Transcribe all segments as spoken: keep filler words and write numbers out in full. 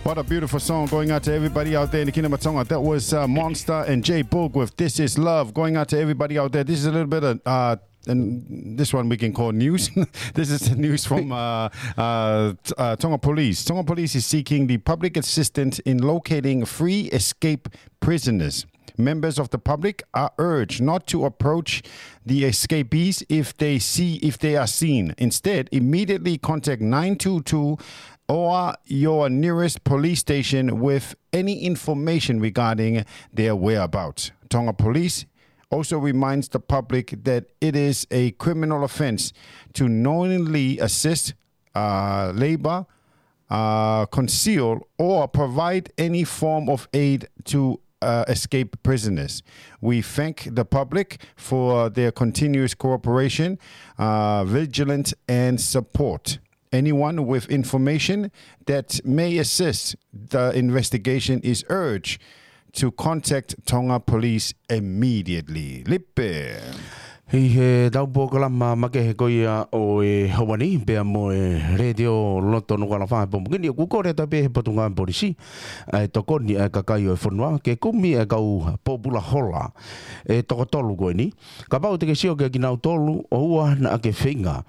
What a beautiful song going out to everybody out there in the Kingdom of Tonga. That was uh, Monster and J Boog with This Is Love. Going out to everybody out there. This is a little bit of, uh, and this one we can call news. This is the news from uh, uh, t- uh, Tonga Police. Tonga Police is seeking the public assistance in locating free escape prisoners. Members of the public are urged not to approach the escapees if they see if they are seen. Instead, immediately contact nine two two or your nearest police station with any information regarding their whereabouts. Tonga Police also reminds the public that it is a criminal offense to knowingly assist, uh, labor, uh, conceal, or provide any form of aid to uh, escape prisoners. We thank the public for their continuous cooperation, uh, vigilance, and support. Anyone with information that may assist the investigation is urged to contact Tonga Police immediately. Lipe. ʻI he tau polokalama makehe ko ia ʻo e ʻaho ni, pea mo e Letiō Loto Nukuʻalofa he pongipongi ni, ʻoku kole atu pē he Potungāue Polisi ʻa e tokoni ʻa e kakai ʻo e fonua ke kumi ʻa e kau pōpula hola ʻe toko tolu ko eni. Kapau te ke sio kia kinautolu, ʻoua naʻa ke feinga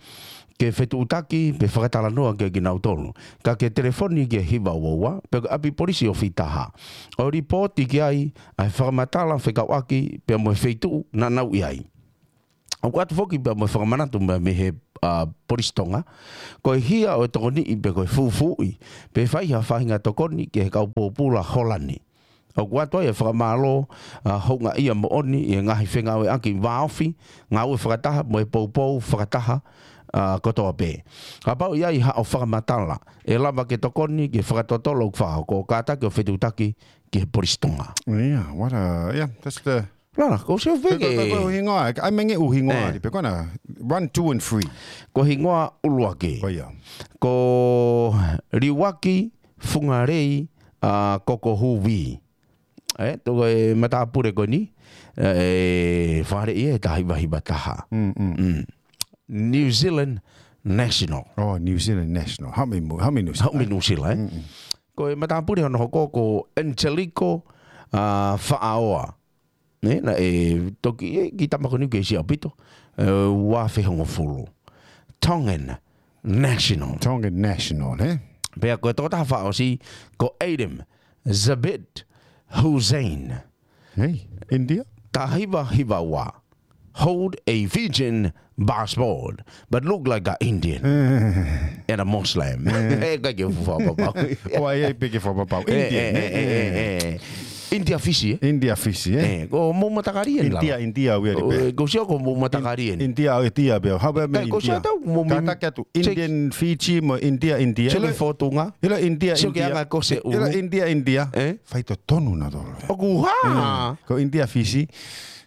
ke fetuʻutaki pe fakatalanoa kia kinautolu, ka ke telefoni ki he hiva ua ua pe ko e ʻapi polisi ʻo Fitaha, ʻo lipooti ki ai ʻa e fakamatala fekauʻaki pea mo e feituʻu naʻa nau ʻi ai. ʻOku ʻoatu foki pea mo e fakamanatu mei, mei he uh, Polisi Tonga, ko e hia ʻo e tokoniʻi pe ko e fufuuʻi pe fai ha faʻahinga tokoni ki he kau pōpula hola ni, ʻoku ʻoatu ai e fakamālō, ʻa, houngaʻia moʻoni ʻi he ngaahi fengāueʻaki vāofi, ngāue fakataha mo e poupou fakataha, ʻa, kotoa pē. Kapau ʻe ʻi ai haʻo fakamatala ʻe lava ke tokoni ki he fakatotolo ʻoku fakahoko, kātaki ʻo fetuʻutaki ki he Polisi Tonga. Yeah, what a, yeah, that's the Lala, ko se Pe ko, pe ko feke. ʻuhinga, ʻai menge ʻuhinga Eh. ʻari, pe ko na, one, two, and three. Ko hingoa ʻuluaki. Ko ia. Ko Liuaki Fungalei, ʻa, Kokohuvi. ʻE, toko e matāpule ko eni, ʻe, Fale ʻi he taha hiva hiva taha. Mm, mm. Mm. New Zealand National. Oh, New Zealand National. Haʻu mei New Zealand. Haʻu mei New Zealand, ʻe? Mm, mm. Ko e matāpule hono hoko ko Angelico, ʻa, Faʻaoa. Ne, naʻe toki, ʻe, ki tama ko eni ke sia pito, ʻe, ua afe hongofulu. Tongan National. Tongan National, ē? Pea ko e tokotaha fakaʻosi, ko Adam Zabit Hussein. Hei, India? Taha hiva hiva ua. Hold a Fijian passport, but look like an Indian. Eh. And a Muslim. Eh. ʻE, ʻikai ke fuʻu fakapapau. ʻOku ʻi ai pē ke fakapapau. ʻE, Indian, ʻe, ʻe, ʻe, ʻe, ʻe. India Fisi, ē? India Fisi, ē? ʻE, ko mou matakali eni lalo. India, India, ʻoku ʻi ai pē. ʻE, ko sio ko mou matakali eni. India, ʻoku ʻi ai pē. How about me, India? Ka ko sio tau mou mei Kātaki atu, Indian Fiji mo India, India. Sio ke fotunga. ʻIlo India, India. Sio ke anga ko se ʻulu. ʻIlo India, India. ʻE? Faitotonu nautolu. ʻOku hā? Mm. Ko India Fisi. ʻE.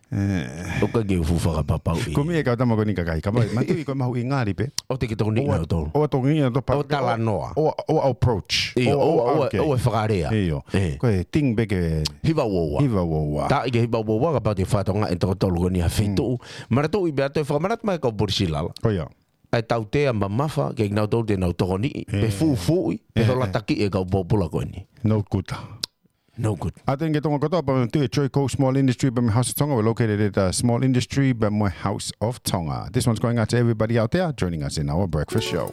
ʻOku ʻikai ke u fuʻu fakapapau ʻi. Ko e meʻa ʻa e kau tama ko eni kakai. Ka mai, manatuʻi ko e mahuʻinga ʻaupito. ʻOua te ke tokoniʻi nautolu. ʻOua tokoniʻi nautolu. ʻOua talanoa. ʻOua, ʻoua approach. ʻIo, ʻoua, ʻoua, ʻoua, okay. ʻOua fakalea. ʻIo. ʻE. Ko e ting pē ke hiva ua ua. Hiva ua ua. Taʻi ke hiva ua ua, kapau te ke fakatokangaʻi ʻe toko tolu ko eni ha feituʻu. Mm. Manatuʻi pea toe fakamanatu mai kau polisi lala. Ko ia. ʻA e tautea mamafa, ke nau tau te nau tokoniʻi, pe fufuuʻi, pe holataki e kau pōpula ko eni. No good. No good. ʻA ia ke tau ʻoatu atu pē mo e Troy Cole Small Industry, pea mo e House of Tonga, we're located at uh, Small Industry, pea mo e House of Tonga. This one's going out to everybody out there joining us in our breakfast show.